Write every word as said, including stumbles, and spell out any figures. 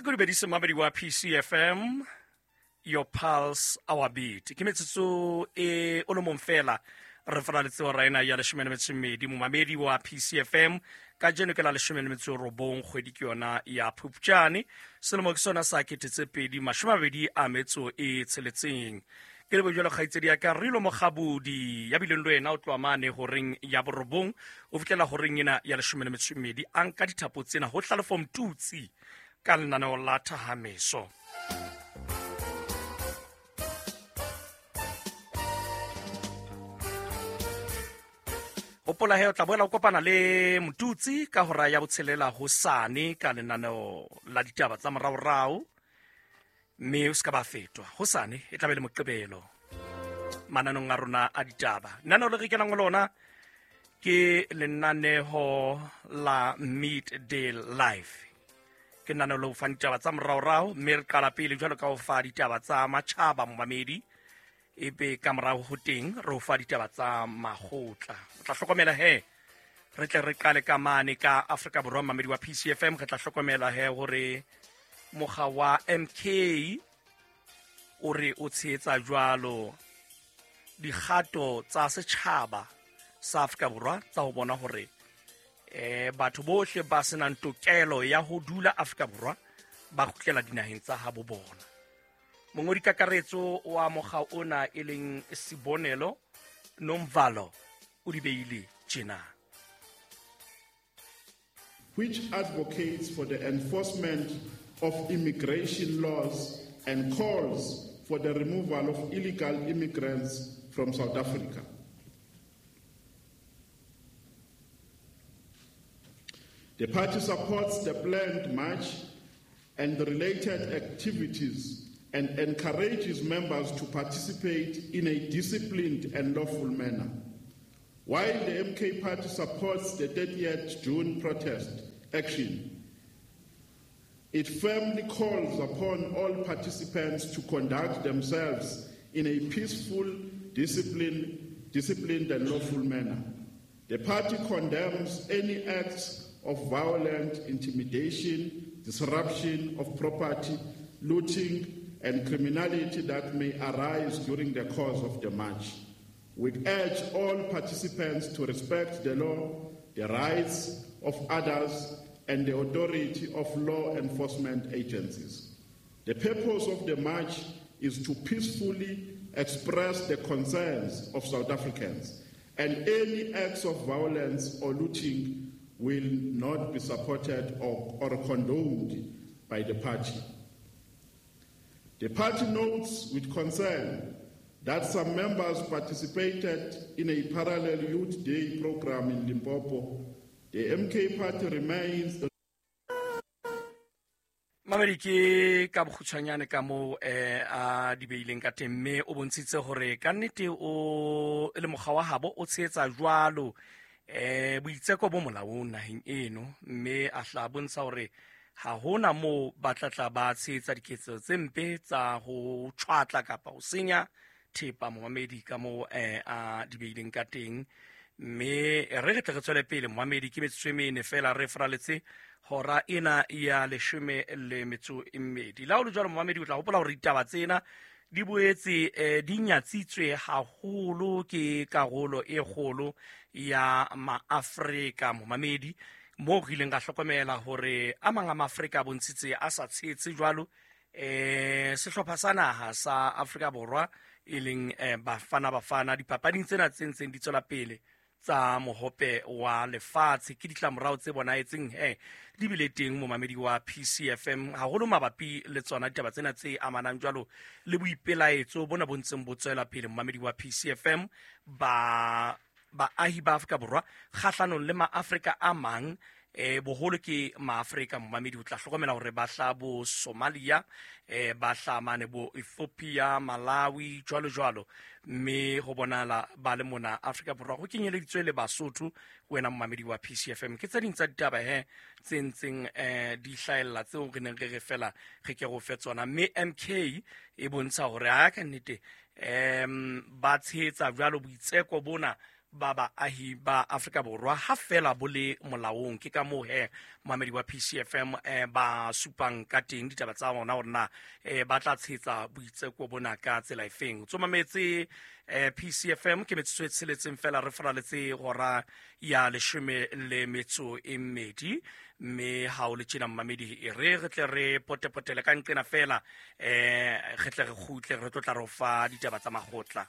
Ko dumedise mamedi wa P C F M, your pulse, our beat. Ke metsotso e o le mong fela re faraletse hora ena ya leshome le metso e mmedi. Momamedi wa P C F M, kajeno ke la leshome le metso e robong, kgwedi ke yona ya Phupjane, selemo ke sona sa kete tse pedi mashome a mabedi a metso e tsheletseng. Ke le bojalo kgaitsedi ya ka Rilo Mokgabodi ya bileng le wena o tloha mane horeng ya borobong o fihlela horeng ena ya leshome le metso e mmedi, a nka dithapo tsena ho Hlalefo Mtutsi ka lenaneo la Thahameso. Hopola he o tla boela o kopana le Mtutsi ka hora ya botshelela hosane ka lenaneo la ditaba tsa moraorao, mme o se ka ba fetwa. Hosane e tla be le Moqebelo mananong a rona a ditaba. Lenaneo le re kenang ho lona ke lenaneho la Midday Life. Ke lenaneo le ho fa ditaba tsa moraorao, mme re qala pele jwalo ka ho fa ditaba tsa matjhaba momamedi, ebe ka morao ho teng re ho fa ditaba tsa makgotla. O tla hlokomela he re tle re qale ka mane ka Afrika Borwa, mamedi wa P C F M. Re tla hlokomela he hore mokga wa M K o re o tshehetsa jwalo dikgato tsa setjhaba sa Afrika Borwa tsa ho bona hore eh batho bohle ba senang tokelo ya ho dula Afrika Borwa ba kgutlela dinaheng tsa habo bona. Mongodi kakaretso wa mokga ona e leng Sibonelo Nomvalo o di beile tjena. Which advocates for the enforcement of immigration laws and calls for the removal of illegal immigrants from South Africa. The party supports the planned march and the related activities and encourages members to participate in a disciplined and lawful manner. While the M K Party supports the thirtieth June protest action, it firmly calls upon all participants to conduct themselves in a peaceful, disciplined, disciplined and lawful manner. The party condemns any acts of violent intimidation, disruption of property, looting, and criminality that may arise during the course of the march. We urge all participants to respect the law, the rights of others, and the authority of law enforcement agencies. The purpose of the march is to peacefully express the concerns of South Africans, and any acts of violence or looting will not be supported or, or condoned by the party. The party notes with concern that some members participated in a parallel Youth Day program in Limpopo. The M K Party remains the Mamedi ke ka bokgutshwanyane ka moo eh a di beileng ka teng, mme o bontshitse hore ka nnete o le mokga wa habo o tshehetsa jwalo eh boitseko bo molaong naheng eno, mme a hla bontsha hore ha hona moo ba tla tla ba tshehetsa diketso tse mpe tsa ho tshwatla kapa ho senya thepa momamedi ka moo eh a di beileng ka teng. Mme re re tle re tswele pele momamedi, ke metsotso e mene fela re faraletse hora ena ya leshome le metso e mmedi. La ho le jwalo momamedi, o tla hopola hore ditaba tsena di boetse eh, di nyatsitswe haholo ke karolo e kgolo ya maAfrika momamedi, moo re ileng ra hlokomela hore a mang a maAfrika a bontshitse a sa tshehetse jwalo eh sehlopha sa naha sa Afrika Borwa e leng eh, Bafana Bafana dipapading tsena tse ntseng di tswela pele tsa mohope wa lefatshe. Ke ditlamorao tse bonahetseng he di bile teng momamedi wa P C F M haholo mabapi le tsona ditaba tsena tse amanang jwalo le boipelaetso bona bo ntseng bo tswela pele momamedi wa P C F M ba baahi ba Afrika Borwa kgahlanong le maAfrika a mang eh boholo ke maAfrika momamedi. O tla hlokomela hore ba hla bo Somalia, eh ba hla mane bo Ethiopia, Malawi jwalo jwalo, mme ho bonala ba le mona Afrika Borwa ho kenyeleditswe le Basotho. Wena momamedi wa P C F M, ke tse ding tsa ditaba he tse ntseng eh di hlahella tseo re neng re re fela re ke go fe tsona, mme M K e bontsha hore ha ka nnete em ba tshehetsa jwalo boitseko bona ba baahi ba Afrika Borwa ha fela bo le molaong. Ke ka moo he moamedi wa P C F M eh, ba supang ka teng ditaba tsa bona hore na eh, ba tla tshetsa boitseko bona ka tsela efeng. Tsomametse eh, P C F M ke metsotso e tsheletseng fela re faraletse hora ya leshome le metso e mmedi, mme ha o le tjena mmamedi e re re tle re potepotele ka nqena fela, eh, re tle re kgutle re tlo tla re o fa ditaba tsa makgotla.